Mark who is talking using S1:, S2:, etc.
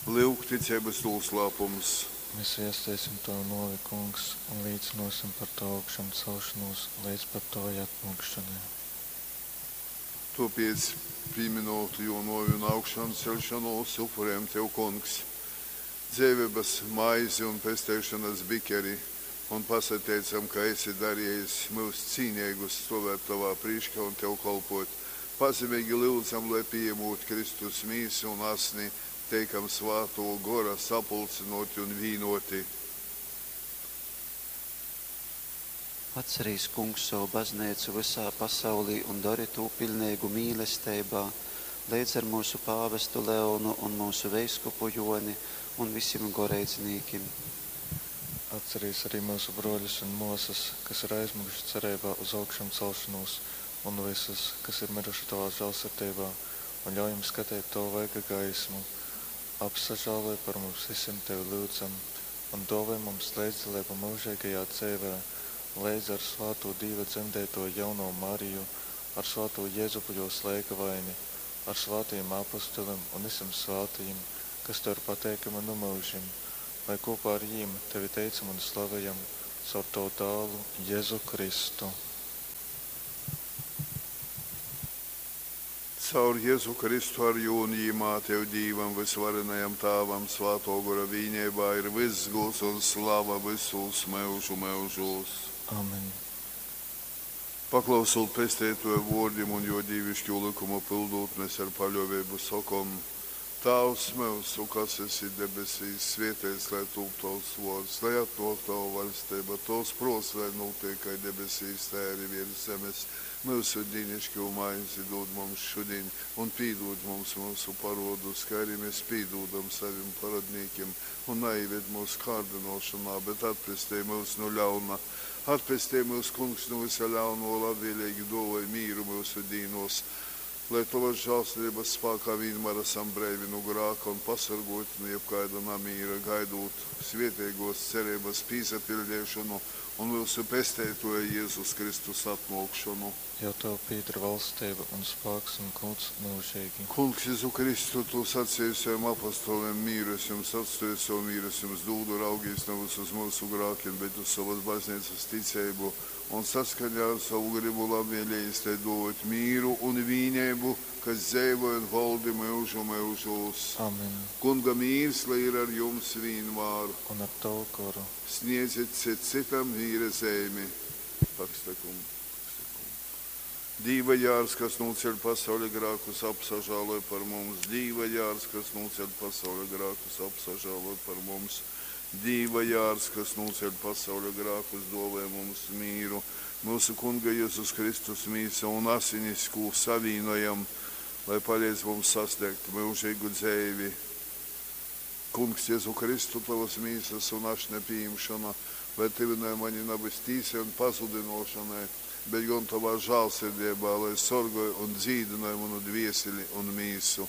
S1: Lyuk, ticeibas nūslāpums.
S2: Mēs viesteisim Tavu nōvi, Kungs, un līcynōsim par Tavu augšamcelšonūs leidz pat Tavai atnōkšonai.
S1: Tōpēc, pīmynūt Jō nōvi un augšanceļšonūs, upurejam Tev, Kungs, dzeiveibas maizi un pesteišonas bikeri un pasateicam, ka esi darejis myus cīneigus stōvēt Tovā prīškā un Tev kolpōt. Pazemeigi lyudzam, lai, pījamūt Kristus Mīsu un Asni, teikam Svātō Gora sapulcynōti un vīnōti.
S3: Atcerīs, Kungs, sovu Bazneicu vysā pasaulī un dori tū piļneigu mīlesteibā, leidz ar myusu pāvestu Leonu un myusu veiskupu Jōni un visim goreidznīkim.
S2: Atcerīs arī myusu brōļus un mōsas, kas ir aizmyguši cereibā uz augšamcelšonūs, un vysus, kas ir myruši Tovā žālsirdeibā, un ļauj jim skateit Tova vaiga gaismu. Apsažāloj par mums vysim, Tevi lyudzam, un dōvoj mums leidzdaleibu myužeigajā dzeivē, leidz ar svātū Dīva dzemdeitōju jaunovu Mariju, ar svātū Jezupu jōs leigavaini, ar svātajim apostolim un vysim svātajim, kas Tev ir pateikami nu myužim, lai kopā ar jīm Tevi teicam un slavejam caur Tavu dālu Jezu Kristu.
S1: Caur Jezu Kristu ar jū un jīmā Tev Dīvam vysvarenajam Tāvam Svātō Gora vīneibā ir vyss gūds un slava vysūs myužu myužūs.
S2: Amen.
S1: Paklausūt Pesteitōja vōrdim un jō dīviškū lykumu pyldūt, mes ar paļōveibu sokom: Tāvs myusu, kas esi debesīs, svēteits lai tūp tovs vōrds, lai atnōk tova vaļsteiba, tovs prōts lai nūtiek kai debesīs, tai arī virs zemes. Myusu dīnišķo maizi dod mums šudiņ, un pīdūd mums myusu parodus, kā arī mēs pīdūdam savim parodnīkim, un naieved mūsu kārdinošanā, bet atpestej mūs no ļauna. Atpestej mūs, Kungs, no visa ļauno, labvēlīgi dāvāj mīru mūsu dīnos, lai Tavas žēlsirdības spēkā vienmēr esam breivi no grāka un pasargoti no jebkāda namīra, gaidot svētīgos cerības pīsapildīšanu un mūsu pesteitoja Jēzus Kristus atnākšanu.
S2: Jo Tev pieder valstība un spēks un gods mūžīgi.
S1: Kungs, Jēzu Kristu, Tu sacīji saviem apostoliem, mīru es jums atstāju, savu mīru es jums dūdu, raugīs nevis uz mūsu grākiem, bet uz savas baznīcas ticību, un saskaņā ar savu gribu labvēlējis tai dot mīru un vīnību, kas dzeivoja un valdi mūžu mūžos.
S2: Amen.
S1: Kunga mīrs, lai ir ar jums vienmēr.
S2: Un ar Tavu goru.
S1: Sniedziet cit citam mīra zīmi. Pakstakum, pakstakum. Dīva jārs, kas nūceļ pasaules grākus, apsažāloj par mums. Dīva jārs, kas nūceļ pasaules grākus, apsažāloj par mums. Dīva jārs, kas nūceļ pasaules grākus, dāvā mums mīru. Mūsu Kunga Jēzus Kristus mīsa un asinis, ko savīnojam, lai palīdz mums sasniegt mūžīgu dzīvi. Kungs, Jēzu Kristu, tavas mīsas un ašņa pieņemšana, lai tuvināja mani nabas tīsai un pazudinošanai, bet gan tavā žālsirdībā, lai sorgoja un dzīdināja manu dvieseli un mīsu.